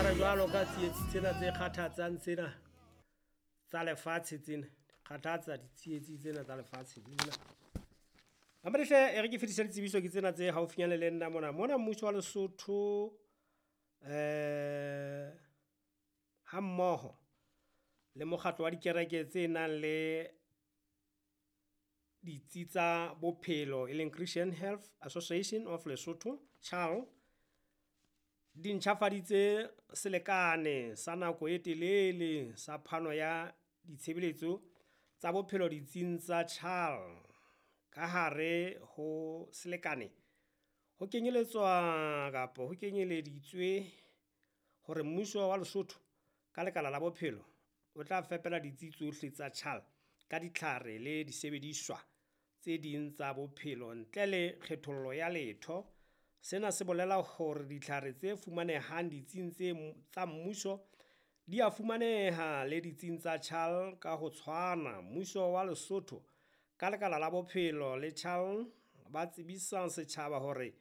Jwale jwalo ka tsietsi tsena tse kgathatsang tsena tsa lefatshe tsena kgathatsa ditsietsi tsena tsa lefatshe tsena. Mamedi hle, e re ke fetise ditsebiso ke tsena tse haufinyane le nna mona. Mona mmuso wa Lesotho ha mmoho le mokgatlo wa dikereke tse nang le ditsi tsa bophelo, e leng Christian Health Association of Lesotho, CHAL. Di ntjhafaditse selekane sa nako e telele sa phano ya ditshebeletso tsa bophelo ditsing tsa CHAL. Ka hare ho selekane ho kenyelletswa kapa ho kenyeleditswe hore mmuso wa Lesotho ka lekala la bophelo o tla fepela ditsi tsohle tsa CHAL ka ditlhare le disebediswa tse ding tsa bophelo ntle le kgethollo ya letho. Sena se bolela hore ditlhare tse fumanehang ditsing tse tsa mmuso di a fumaneha le ditsing tsa CHAL ka ho tshwana. Mmuso wa Lesotho ka lekala la bophelo le CHAL ba tsebisa setjhaba hore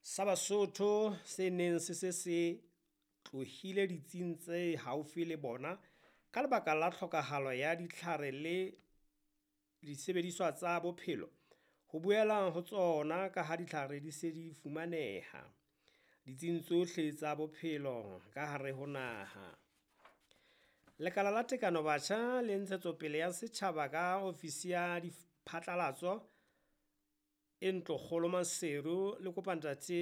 sa Basotho se neng se se se tlohile ditsing tse haufi le bona ka lebaka la tlhokahalo ya ditlhare le disebediswa tsa bophelo ho boela ho tsona ka ha ditlhare di se di fumaneha ditsing tsohle tsa bophelo ka hare ho naha. Lekala la Tekano Batjha le Ntshetsopele ya Setjhaba ka ofisi ya diphatlalatso e Ntlokgolo Maseru le kopa ntate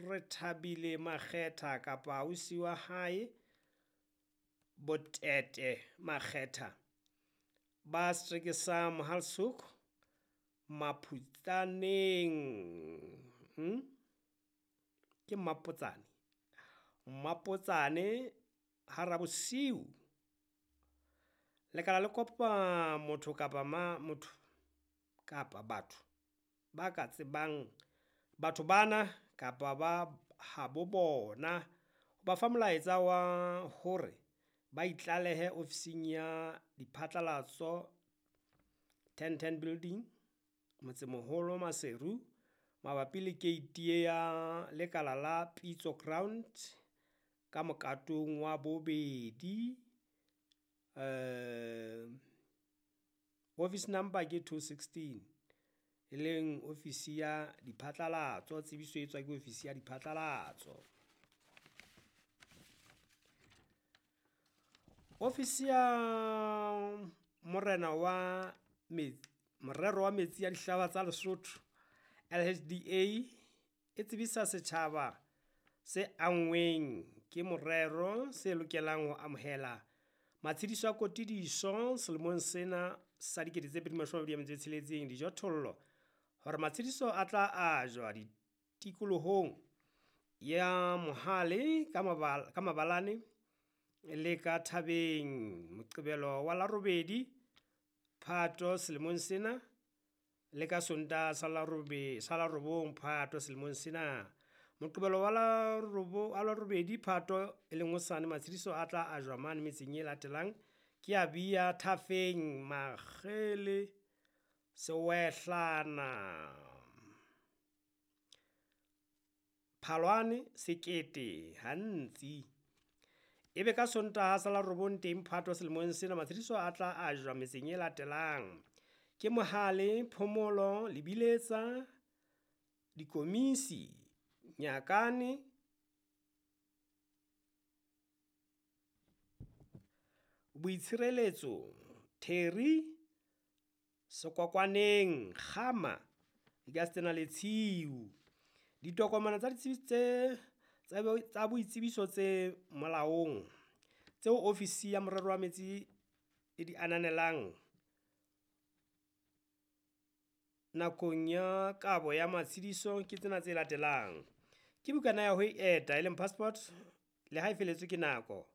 Rethabile Makgetha kapa ausi wa hae Botete Makgetha ba setereke sa Mohale'shoek Maphutsaneng, ke Mmapotsane, Mmapotsane ha Rabosiu. Lekala le kopa motho kapa motho kapa batho ba ka tsebang batho bana kapa ba habo bona, ho ba fa molaetsa wa hore ba itlalehe ofising ya diphatlalatso 1010 building, Motsemoholo Maseru, mabapi le keiti ya lekala la Pitso Ground ka mokatong wa bobedi. Office number ke 216, e leng ofisi ya diphatlalatso. Tsebiso e tswa ke ofisi ya diphatlalatso. Ofisi ya morena wa morero wa metsi a dihlaba tsa Lesotho LHDA e tsebisa setjhaba se anngweng ke morero se lokelang ho amohela matshediso a kotudiso selemong sena sa 2026 dijothollo hore matshediso a tla ajwa tikolohong ya Mohale ka mabalane le ka thabeng Moqebelo wa la 8 Phato selemong sena le ka Sontaha sa la 9 Phato selemong sena. Moqebelo wa la 8 Phato e leng hosane, matshediso a tla ajwa mane metseng e latelang ke ya Bia, Thafeng, Makgele, Sewehlana, Phalwane, Sekete, Hantsi. Ebe ka Sontaha sa la 9 teng Phato selemong sena, matshediso a tla ajwa metseng e latelang ke Mohale, Phomolo, Lebiletsa, Dikomisi, Nyakane, Boitshireletso, Theri, Sekwakwaneng, Kgama, Ikastena le Tshiu. Ditokomane tsa ditsebiso tsa boitsebiso tse molaong tseo ofisi ya morero wa metsi e di ananelang nakong ya kabo ya matshediso ke tsena tse latelang. Ke bukana ya ho eta e leng passport le ha e feletswe ke nako.